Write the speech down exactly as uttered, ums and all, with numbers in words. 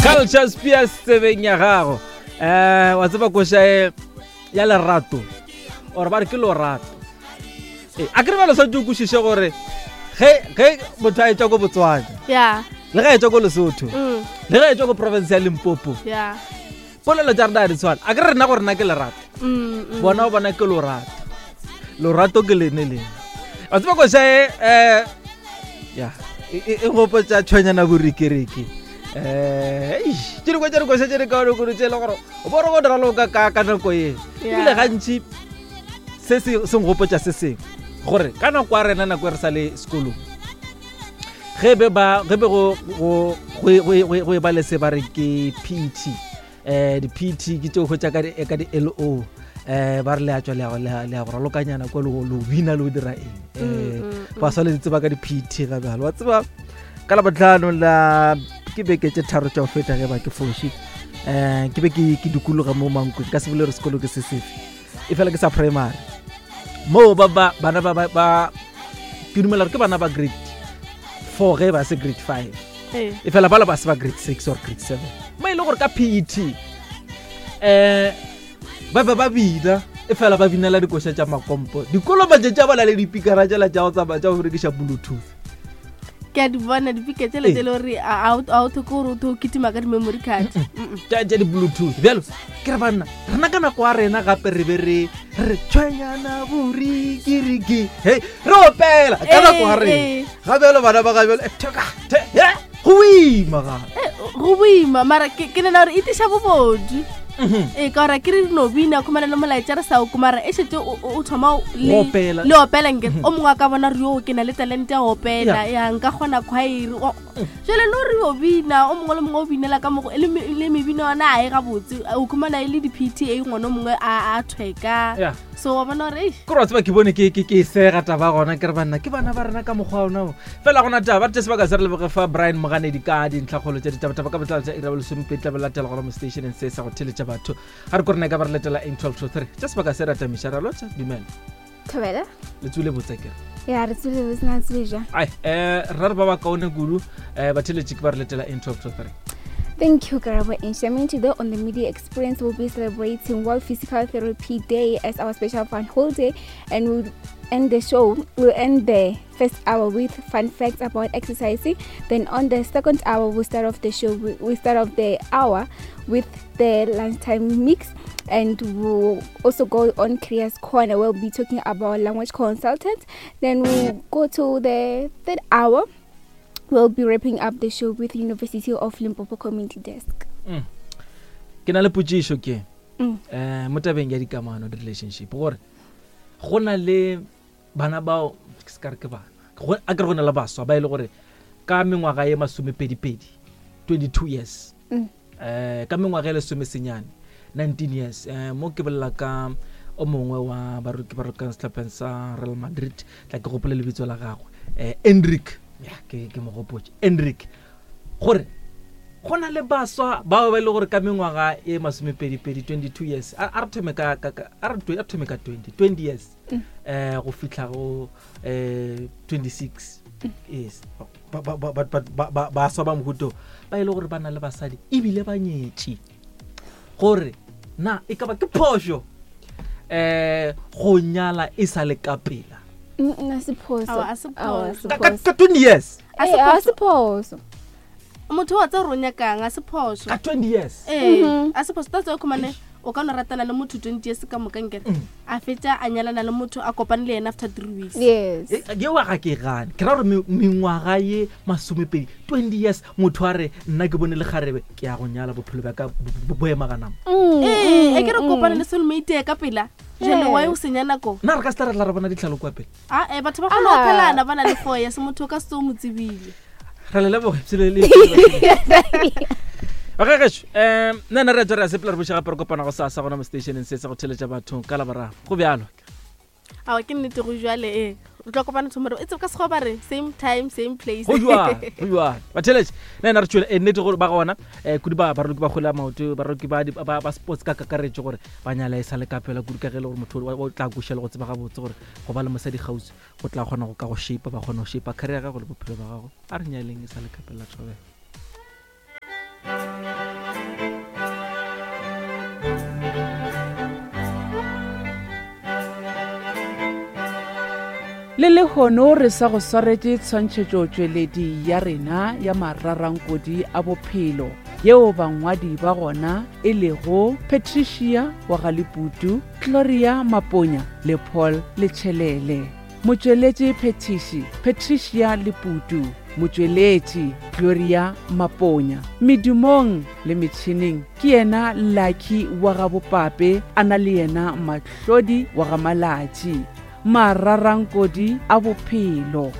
Culture Spears tsebeng ya gago. um wa tseba koša e ya lerato or ba re ke lorato. Ee, a ke re bjalo swantse o kwešiše gore ge ge motho a etšwa ko Botswana, ya le ge a etšwa ko Lesotho, mm le ge a etšwa ko province ya Limpopo, ya polelo tša rena ga di tshwane. A ke re rena gore nna ke lerato, mm mm. bona o bona ke lorato, lorato ke lene lene. Wa tseba koša e um ya e e- e gopotša tshwenyana borikiriki. um tše dingwe tša dikoša tše di kaonekudu tše e le gore o bore go dira loka ka ka nako ye. Yeah. Ebile gantši se se se nkgopotša se sengwe gore ka nako ya rena, nako e re sa le sekolong, ge be ba ge be go go go go- go go e ba le se ba re ke P T, eh di-P T ke tšeo hwetša ka di ka di L O, eh ba re le a tswa le ya go- le ya- le ya go ralokanyana kwa le go- le go bina le go dira eng, eh Mm, mm, ba swa le tseba ka di-P T ga bjalo. Wa tseba ka Labotlhano la ke beke tše tharo tša go feta, ge ba ke foši, um ke be ke ke dikologa mo Mankweng, ka se bole gore sekolo ke se sefe, e fela ke sa primary moo ba ba bana ba ba ba ke dumela gore ke bana ba grade four ge ba se grade five, Eh. e fela bala ba se ba grade six or grade seven, mo e le gore ka P E T um ba be ba bina, e fela ba binela dikoša tša makompo. Dikolo matšatši a ba na le dipikara tšela tša go tsamaya tša go berekiša Bluetooth. Ke a di bona dipika tsele Ee. tse le gore a o thoke gore o tho o kitima ka di-memory card. Mm-mm. Tša tša di-Bluetooth bjalo. Ke re banna, rena ka nako ya rena gape re be re re tshwenyana borikiriki, hei, re opela ka nako ya rena. Ee, Ga bjalo bana ba ga bjalo, eh, theka, the- he, go boima gape. ee. Go boima, mara ke ke nena gore e tiša bobodu. Mhm. Ee, ka gore ke re dino bina khumana le molaetša re sa o mara e šetse o o- o thoma o- le Go opela. Le opela nke o mongwe a ka bona re yo ke na le talente ya go opela, Yeah. ya nka kgona choir. Jale no re o bina, o mongwe le mongwe o binela ka mogo le me- le mebino yona a e gabotse, o khumana e le di-P T A, ngwana o mongwe a a thweka. Yeah. So wa bona gore eish. Ke gore wa tseba ke bone ke ke ke e sega taba gona, ke re banna ke bana ba rena ka mokgwa ona o fela gona taba. Re tše sebaka se re leboge fa Brian Moganedi ka dintlhakgolo tša ditabataba ka botlalo tša ira bolesomepedi tla be latela gona mo stationeng se sa go theletša batho. Ga re ko rena e ka ba re letela eng twelve to three tša sebaka se re atamiša ra lotša. Dumela. Thobela. Le tswile botse kere? Ya, re tswile botse, na tswile jang? Ai, um rra re ba ba kaone kudu. Um batheletši ke ba re letela eng twelve to three? Thank you, Karabo and Shamin. Today on the Media Experience, we'll be celebrating World Physical Therapy Day as our special fun holiday, and we'll end the show, we'll end the first hour with fun facts about exercising. Then on the second hour, we'll start off the show, we we'll start off the hour with the lunchtime mix, and we'll also go on Careers Corner. We'll be talking about language consultants. Then we'll go to the third hour. We'll be wrapping up the show with University of Limpopo Community Desk. Mm. Ke na le potšišo ke Mm. um mo tabeng ya dikamano, di-relationship, gore go na le bana bao ke se ka re ke bana. Go- a kere go na le baswa ba e le gore ka mengwaga ye masomepedipedi, twenty-two years, Mm. eh ka mengwaga e lesomesenyane, nineteen years, eh mo ke bolela ka o mongwe wa baroki ba rokang setlhopheng sa Real Madrid, tla ke gopole lebitso la gagwe, eh Endrick, ya ke ke mo gopotse Endrick, gore go na le baswa bao ba e le gore ka mengwaga e masomepedipedi, twenty-two years, a a re thome ka ka- ka- a re twe- a re thome ka twenty twenty years eh go fihla go eh twenty-six yes, ba- ba- ba- ba- ba- ba- baswa ba mohuto ba e le gore ba na le basadi ebile ba nyetše, gore na e ka ba ke phošo eh go nyala e sa le ka pela? Mm, a se phoso. Aowa, a se Aowa, a se phoso. Ka- ka phoso. ka twenty years. A se Eh, a phoso. se phoso. Motho wa tsa gore o nyakang, a se phoso. Ka twenty years. Ee, Mhm. a se phoso. Tatse o khumane o ka no ratana le motho twenty years ka moka nkere Mm. a fetša a nyalana le motho a kopane le yena after three weeks. Yes. E- yeo ga ke gane, ke ra gore me- mengwaga ye masomepedi, twenty years, motho a re nna ke bone le kgarebe, ke ya go nyala, bophelo bja ka bo- bo bo ema ganama. Mm, Ee, mm, e ke re mm. kopane le soulmate ka pela jale, why o senya nako? Nna re ka se tla re tla re bona ditlhalo kwa pele. A e batho ba kgona go Ah. phelana ba na le four years, motho o ka se o mo tsebile. Re le leboge psele le bagagešo. Um nna nna re a tswa re a sepela, re boša gape re kopana go sasa gona mo stationeng se sa go theletša bathong ka Laboraro. Go bjalo. Ao, ke nnete, go jale. Ee, re tlo kopana tomorrow, e tsebe ka sekgowa ba re same time, same place. Go jwang, go jwang batheletše? Nna ena re tšwele e nnete gore ba gona um kudu ba baroki ba kgwele ya maoto, baroki ba di- ba ba sports ka kakaretso, gore ba nyala e sa le ka pela kudu, ka ge e le gore motho o o tla kweša le go tseba gabotse gore go ba le mosadi kgauswi go tla kgona go ka go shape, ba kgona go shape career ya gago le bophelo ba gago. A re nyaleng e sa le ka pela. Thobela. Le lehono re sa go swaretše tshwantšhetšotšweledi ya rena ya mararankodi a bophelo yeo bangwadi ba gona e lego Patricia wa Galeputu, Gloria Maponya le Paul Letšhelele. Motšweletši phethiši Patricia Leputu, motšweletši Gloria Maponya. Medumong le metšhineng ke yena Lucky wa ga Bopape, a na le yena Mahlodi wa ga Malatši. Mararankodi a bophelo.